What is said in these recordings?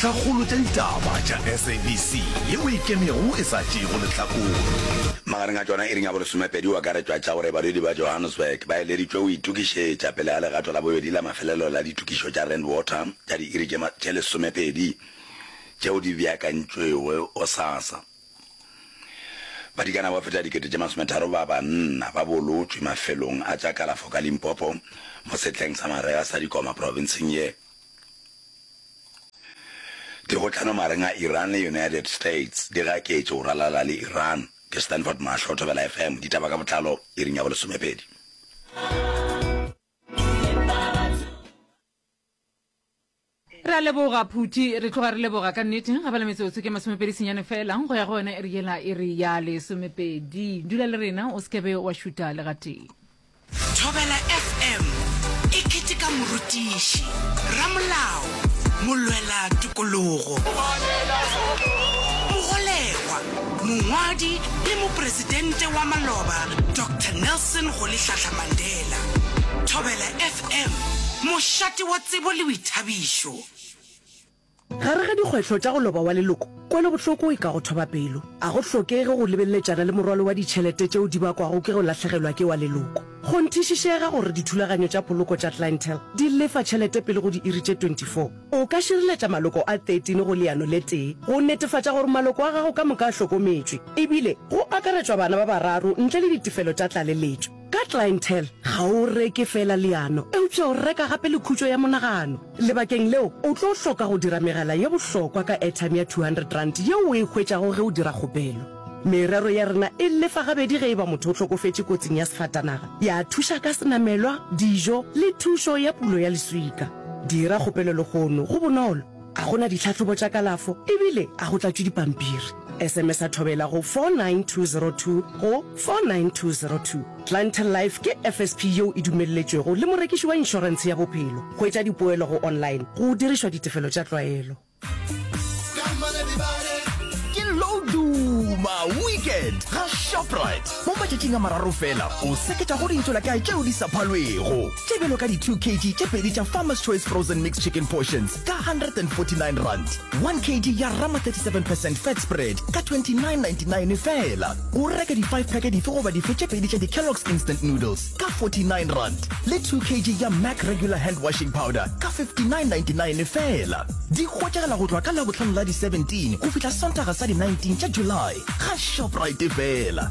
Dintlhakgolo tša ditaba tša SABC yeo e ikemego e sa tšeego lehlakore. Magareng a tšona iring ya bolesomepedi go akaretšwa tša gore badudi ba Johannesburg ba eleditšwe go itokišetša pele ga legato la bobedi la mafelelo la ditokišo tša Rand Water tša diiri tše tše lesomepedi tšeo di beakantšwego gosasa. Badikana ba feta dikete tše masometharo ba banna ba bolotšwe mafelong a tša kalafo ka Limpopo mo sehleng sa marega sa dikoma profenseng ye. Dikgohlano magareng a Iran le United States di gaketše go ralala le Iran. Ke Stanford Mahlo, Thobela FM, ditaba ka botlalo iring ya bolesomepedi. Re a leboga Phuti, re tloga re leboga ka nnete. Ga bala metsotso ke masomepedi senyane fela go ya go yona iri yela iri ya lesomepedi. Dula le rena o se ke be wa šuta le gatee. Thobela FM e keteka morutiši, ramolao, molwela tokologo, mogolegwa, mongwadi le mopresidente wa maloba Doctor Nelson Rolihlahla Mandela. Thobela FM, mošate wa tsebo le boithabišo. Gare ga dikgwetlho tša go loba wa leloko, kwelobohloko e ka go thoba pelo. A go hlokege go lebeleletšana le morwalo wa ditšhelete tšeo di bakwago ke go lahlegelwa ke wa leloko. Kgonthišišega gore dithulaganyo tša poloko tša Clientele di lefa tšhelete pele go diiri tše 24. O ka šireletša maloko a 13 go leano le tee go netefatša gore maloko a gago ka moka a hlokometšwe, ebile go akaretšwa bana ba bararo ntle le ditefelo tša tlaleletšo. Ka Clientele, ga o reke feela leano, eupša o reka gape le khutšo ya monagano. Lebakeng leo, o tlo hloka go dira megala ye bohlokwa ka airtime ya R200 yeo o e hwetšago ge o dira kgopelo. Merero ya rena e lefa gabedi ge e ba motho o hlokofetše kotsing ya sefatanaga, ya thuša ka senamelwa, dijo le thušo ya pulo ya leswika. Dira kgopelo lehono, go bonolo, ga go na ditlhahlobo tša kalafo ebile ga go tlatšwe dipampiri. SMS-a Thobela go 49202 go 49202. Clientele Life ke FSP yeo e dumelletšwego le morekiši wa inšorentshe ya bophelo. Hwetša dipoelo go online go dirišwa ditefelo tša tlwaelo. Ke Loduma Weekend ga Shoprite. Mo matšatšing a mararo fela, o seketša go dintšolakae tšeo di sa phalwego, tše bjalo ka di 2 kg tše pedi tša Farmer's Choice Frozen Mixed Chicken Portions ka R149, 1 kg ya Rama 37 percent fat spread ka 29.99 feela. O reke di 5 pack dife goba dife tše pedi tša di Kellogg's Instant Noodles ka R49 le 2 kg ya Mac Regular Hand Washing Powder ka 59.99 feela. Di hwetšagala go tloga ka Labohlano la di 17 go fihla Sontaga sa di 19 tša July ga Shoprite feela.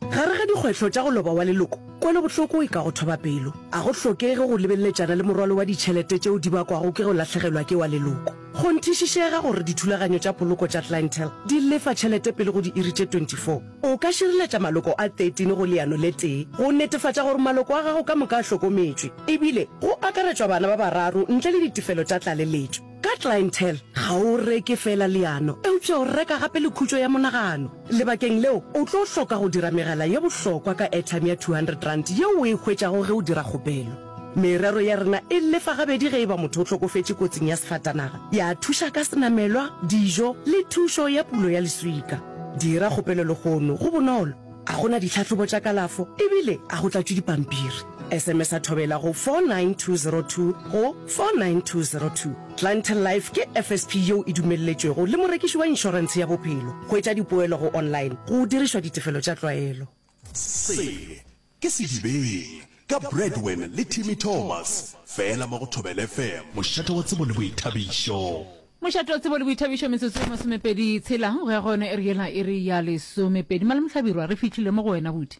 Gare ga dikgwetlho tša go loba wa leloko, kwelobohloko e ka go thoba pelo. A go hlokege go lebeleletšana le morwalo wa ditšhelete tšeo di bakwago ke go lahlegelwa ke wa leloko. Kgonthišišega gore dithulaganyo tša poloko tša Clientele di lefa tšhelete pele go diiri tše 24. O ka šireletša maloko a 13 go leano le tee go netefatša gore maloko a gago ka moka a hlokometšwe, ebile go akaretšwa bana ba bararo ntle le ditefelo tša tlaleletšo. Ka Clientele, ga o reke feela leano, eupša o reka gape le khutšo ya monagano. Lebakeng leo, o tlo hloka go dira megala ye bohlokwa ka airtime ya R200 yeo o e hwetšago ge o dira kgopelo. Merero ya rena e lefa gabedi ge e ba motho o hlokofetše kotsing ya sefatanaga, ya thuša ka senamelwa, dijo le thušo ya pulo ya leswika. Dira kgopelo lehono, go bonolo, ga go na ditlhahlobo tša kalafo ebile ga go tlatšwe dipampiri. SMS-a Thobela go 49202 go 49202. Clientele Life ke FSP yeo e dumelletšwego le morekiši wa inšorentshe ya bophelo. Hwetša dipoelo go online go dirišwa ditefelo tša tlwaelo. Se ke Sedibeng ka Bradwin le Timmy Thomas, fela mo go Thobela FM. Mošate wa tsebo le boithabišo. Mošate wa tsebo le boithabišo metsotso e masomepedi tshela go ya go yona iri yela iri ya lesomepedi. Malome Hlabirwa re fihlile mo go wena buti.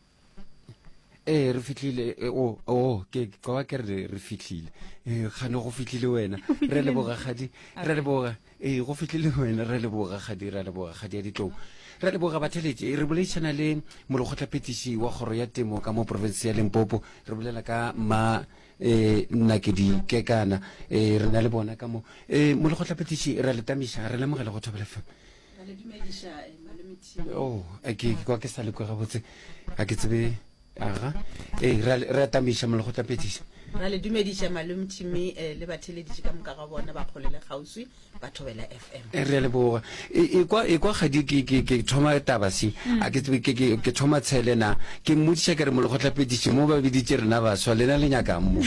Ee, re fihlile. E, o, o, ke ke kwa ke re re fihlile. Ee, kgane go fihlile wena. Re leboga kgadi. Re leboga. Ee, go fihlile wena. Re leboga kgadi, re leboga kgadi ya ditlou. Re leboga batheletši. Re boledišana le molekgotlaphethiši wa kgoro ya temo ka mo profense ya Limpopo. Re bolela ka ma eh Nakedi Kekana. Eh re na le bona ka mo. Eh molekgotlaphethiši re a le tamiša, re lemogela go Thobela FM. Ra le dumediša, eh, malome Tim. Oh, ke ke kwa ke sa le kwe gabotse. Ga ke tsebe. Aga, ee, re a, re a tamiša molekgotlaphethiši. Ra le dumediša Malome Timmy eh, le batheeleditši ka moka ga bona ba kgole le kgauswi ba Thobela FM. Eh, Re a leboga. E, ekwa, ekwa kgadi ke, ke, ke thoma taba se. A ke tsebe ke, ke, ke thoma tshele na. Ke mmotšiša ke re molekgotlaphethiši mo ba biditše rena baswa, lena le nyakang mo?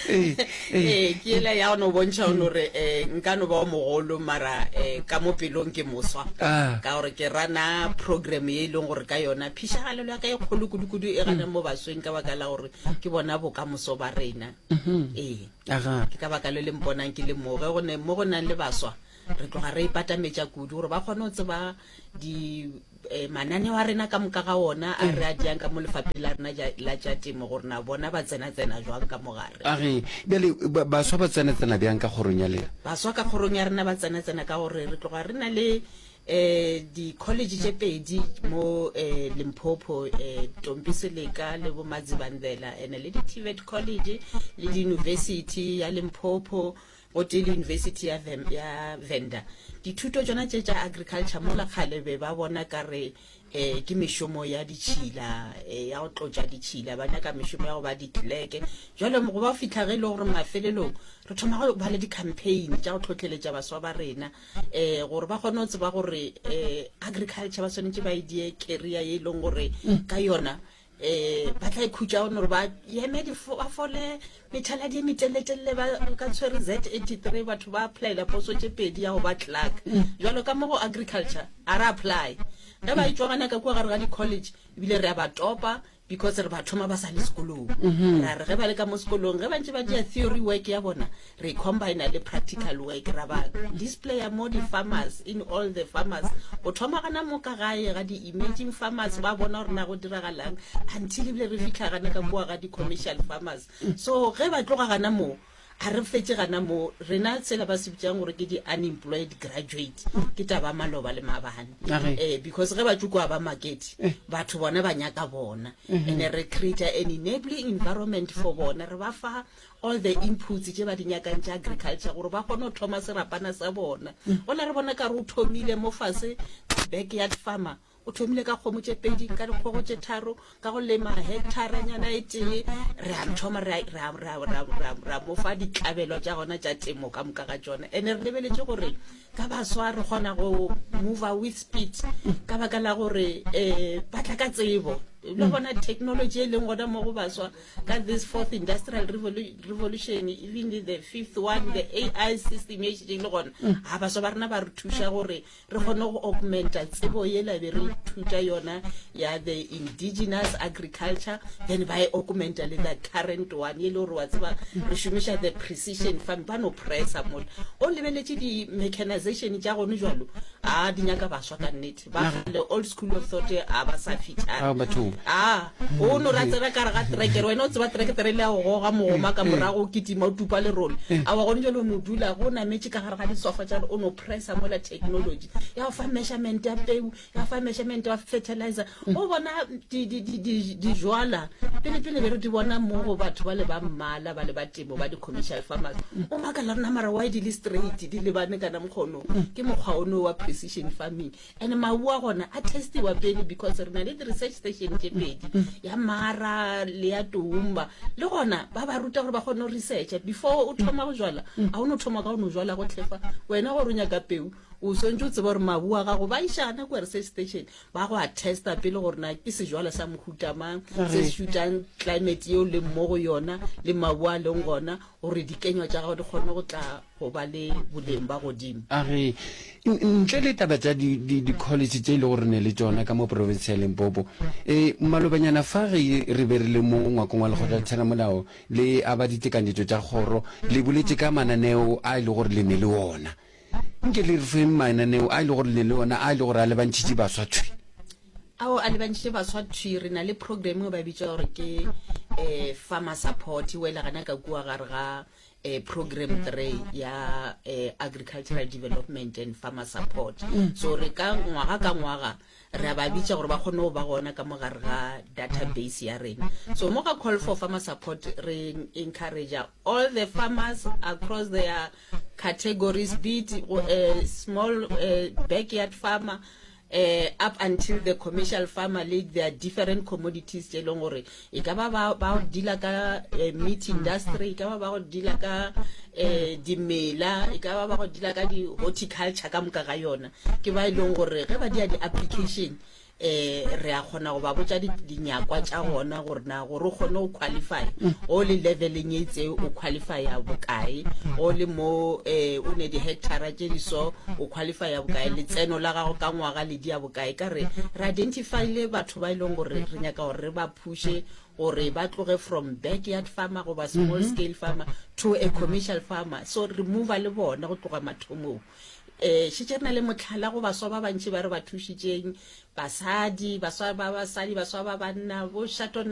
Ee, ee. Ee, ke yela ya go no bontšha go no re eh, nka no ba o mogolo mara eh, ka mo pelong ke moswa. Ah. Ka gore ke rana program ye e leng gore ka yona phišagalelo ya ka e kgolo kudu-kudu e gana mo basweng ka baka la gore ke bona bokamoso ba rena. Ee. Aga. Ke ka baka le le mponang ke le mo ge go ne mo go nang le baswa re tloga re ipatametša kudu gore ba kgone go tseba di eh, mananeo a rena ka moka ga ona a re a diang ka mo lefapheng la rena ja- la tša temo gore na bona ba tsena-tsena jwang ka mogare. A re, bjale ba- baswa ba tsena-tsena bjang ka kgorong ya lena? Baswa ka kgorong ya rena ba tsena-tsena ka gore re tloga re na le eh di-college tše pedi mo eh Limpopo eh Tompi Seleka le bo Madzivhandlela ene le di-TVET college le di-university ya Limpopo gotee le University ya, Vem, ya Venda. Dithuto tšona tše tša agriculture mola kgale be ba bona ka re eh ke mešomo ya ditšhila eh, ya go tlotša ditšhila ba nyaka mešomo ya go ba ditleleke jalo go ba fihla ge e le gore mafelelong re thoma go ba le di-campaign tša go tlhotlheletša baswa ba rena um gore ba kgone go tseba gore um agriculture ba swanetše ba e die career ye e leng gore ka yona um ba tla ikhutša gone gore ba eme ba fole methaladi e meteleletelele ba ka tshwere z 83 batho ba applyela poso tše pedi ya go ba clerk jalo ka mo go agriculture a re apply ge ba etšwa gana ka kua gare ga di-college ebile re a ba topa Because re ba thoma ba sa le sekolong. Ra re ge ba le ka mo sekolong, ge ba ntše ba dira theory work ya bona, re e combina le practical work, ra ba displaya mo di-farmers, in all the farmers. Go thoma gana mo ka gae ga di-emerging farmers, ba bona gore na go diragalang, until ebile re fihla gana ka kua ga di-commercial farmers. So ge ba tloga gana moo, A re fetše gana mo, rena sela ba se bitšang gore ke di-unemployed graduate, ke taba ya maloba le maabane. Age. Eh, because ge ba tšo kwa ba makete, batho bona ba nyaka bona. And re create an enabling environment for bona, re ba fa all the inputs tše ba di nyakang tša agriculture gore ba kgone go thoma serapana sa bona. Gola re bona ka re o thomile mo fase ka backyard farmer, O thomile ka kgomo tše pedi, ka dikgogo tše tharo, ka go lema hektaranyana e tee. Re a thoma re a, re a, re a, re a, re a, re a mo fa ditlabelo tša gona tša temo ka moka ga tšona. Ene re lebeletše gore ka baswa re kgona go mova with speed ka baka la gore um ba tla ka tsebo. Le gona technology e leng gona mo go baswa ka this fourth industrial revolution, even the fifth one, the AI system e šetše e le gona. Ga baswa ba rena ba re thuša gore re kgone go augmenta tsebo yela be re ithuta yona ya the indigenous agriculture, then ba e augmenta le the current one e le gore wa tseba re šomiša the precision farm, ba no pressa mola o lebeletše di-mechanization tša gone jalo, a di nyaka baswa ka nnete ba kgale old school of thought a ba sa feature Ah, bathong. a o no ra tsena ka re ga trekere wena o tseba trekere le ya go goga mogoma ka morago o kitima o tupa lerole a wa gone jalo o no dula go nametše ka gare ga disofa tša o no pressa mola technology ya go fa measurement ya peu ya go fa measurement ya fertilizer o bona di di di di dijwala pele pele be re di bona mo go batho ba le ba mmala ba le ba temo ba di commercial farmers o makala rena mara why di le straight di lebane kana mokgono ke mokgwa ono wa precision farming And mabu a gona a testiwa pele because re na le di-research station tše pedi, ya Mara le ya Toumba. Le gona ba ba ruta gore ba kgone go researcha before o thoma go jwala. A o no thoma ka go no jwala go tlhefa wena gore o nyaka peu, o swantse o tseba gore mabu a gago ba išana kua research station ba go a testa pele gore na ke sejwala sa mohuta mang se se šutang climate yeo leng mo go yona le mabu a leng gona gore dikenywa tša gago di kgone go tla go ba le boleng ba godimo. A re, Ntle le taba tša di-college tše e le gore ne le tšona ka mo profense ya Limpopo, e, malobanyana fa ge re be re le mo ngwakong wa lekgotla la theramolao le aba ditekanyetšo tša kgoro, le boletše ka mananeo a e le gore le ne le ona. Nke le re feng mananeo a e le gore le ne le ona a e le gore a lebantšhitše baswa thwi. Ao a lebantšhitše baswa thwi. Re na le program eo ba bitša gore ke um farmer support, e wela gana ka kua gare ga eh, program 3 ya eh, agricultural development and farmer support mm. so re ka ngwaga ka ngwaga re a ba bitša gore ba kgone go ba gona ka mogare ga database ya rena so mo ga call for farmer support re encourage all the farmers across their categories be it uh, small uh, backyard farmer. Eh, up until the commercial farmer le their different commodities tše e leng gore e ka ba ba ba go dealer ka eh, meat industry, e ka ba ba go dealer ka eh, dimela, e ka ba ba go dealer ka di-horticulture ka moka ga yona, ke ba e leng gore ge ba dia di-application eh re a kgona go ba botša dinyakwa tša gona gore na gore o kgone go qualify o le leveleng e itse o qualifya bokae, o le mo eh o ne di-hectara tše di so o qualifya bokae, letseno la gago ka ngwaga le dia bokae. Ka re re identifyle batho ba e leng gore re nyaka gore re ba phushe gore ba tloge from backyard farmer goba small scale farmer to a commercial farmer, so re mova le bona go tloga mathomong. Um šetše re na le mohlala go baswa ba bantši ba re ba thušitšeng, basadi, baswa ba basadi, baswa ba banna, bo Shato.